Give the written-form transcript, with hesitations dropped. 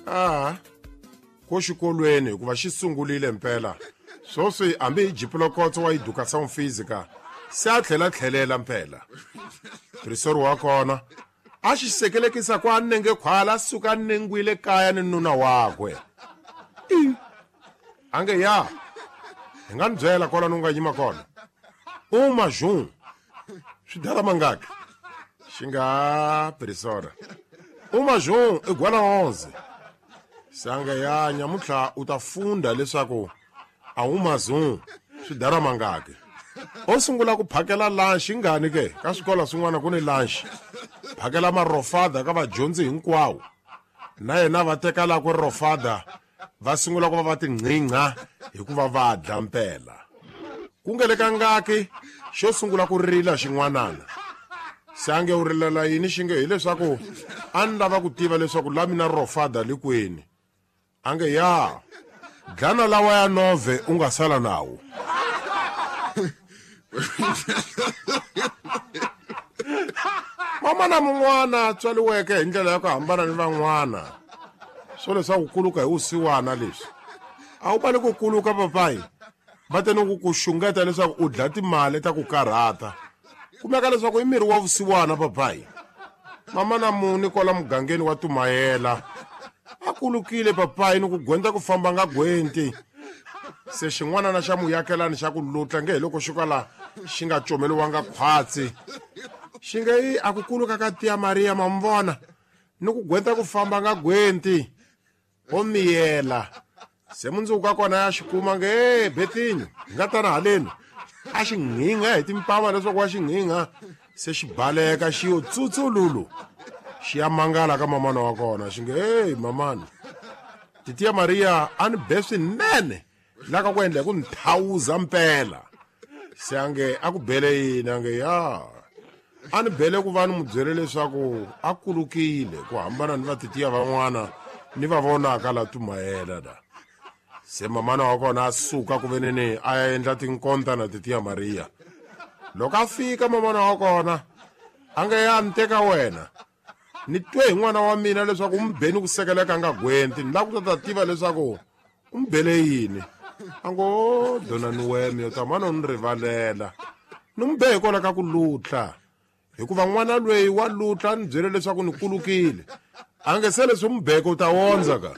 A ko xikolweni hikuva xi sungurile mpela swoswi hambi hi jipulokotso wa educação física se a tlhela tlhelela mpela prisori wa kona a xi sekelekisa ku a nenge khwala a suka a nengwile kaya ni nuna wakwe i a nge ya hi nga ni byela kwalano u nga yima kona uma jun swi dala mangaki xi nga prisora uma jun i gwala 11 sange ya nyamutlha u ta funda leswaku a wu mazun swi dala mangaki o sungula ku phakela lunch ingani ke ka swikolo swin'wana ku ni lunch phakela marofada ka vadyondzi hinkwawo na yena va teka lakwe rofada va sungula ku va va tinqingha hikuva va dya mpela ku nge le ka ngaki xo sungula ku rila xin'wanana se a nge u rilela yini xi nge hileswaku a ni lava ku tiva leswaku la mina rofada li kwini a nge ya dlana lawa ya nove u nga sala nawo mama na mun'wana tswariweke hi ndlela ya ku hambana ni van'wana swo leswaku kuluka hi vusiwana leswi a wu vali ku kuluka papayi va te ni ku ku xungeta leswaku u dla timali ta ku karhata kumeka leswaku i miri wa vusiwana papayi mama na muni kwala mugangeni wa tumayela a kulukile papayi ni ku gwenta ku famba nga gwenti se xin'wanana xa muyakelani xa ku lutla nge hi loko xi kwala xi nga comeliwanga khwatsi xi nge yi a ku kuluka ka tiya mariya ma mi vona ni ku gwenta ku famba nga gwenti o miyela se mundzuku ka kona ya xi kuma nge e betinyo hi nga tana haleni a xi nghingha hi timpama leswaku wa xi nghingha se xi baleka xi yo tsutsululu xi ya mangala ka mamana wa kona xi nge hey mamani titiya mariya a ni be swinene la ka ku endla hi ku ni thawuza mpela se a nge a ku bele yini a nge ya a ni bele ku va ni mu byele leswaku a kulukile ku hambana ni vatitiya van'wana ni va vonaka la tumayela da se mamana wa kona a suka ku veneni a ya endla tinkonta na titiya mariya loko a fika mamana wa kona a nge ya ni teka wena ni twe hi n'wana wa mina leswaku u mi beni ku sekeleka nga gwenti ni lava ku ta ta tiva leswaku u mi bele yini a ngo donani wena yo tamana u ni rivalela ni mi be hikwalaho ka ku lutla hikuva n'wana lweyi wa lutla a ni byele leswaku ni kulukile a nge se leswi mubeke u ta wondza ka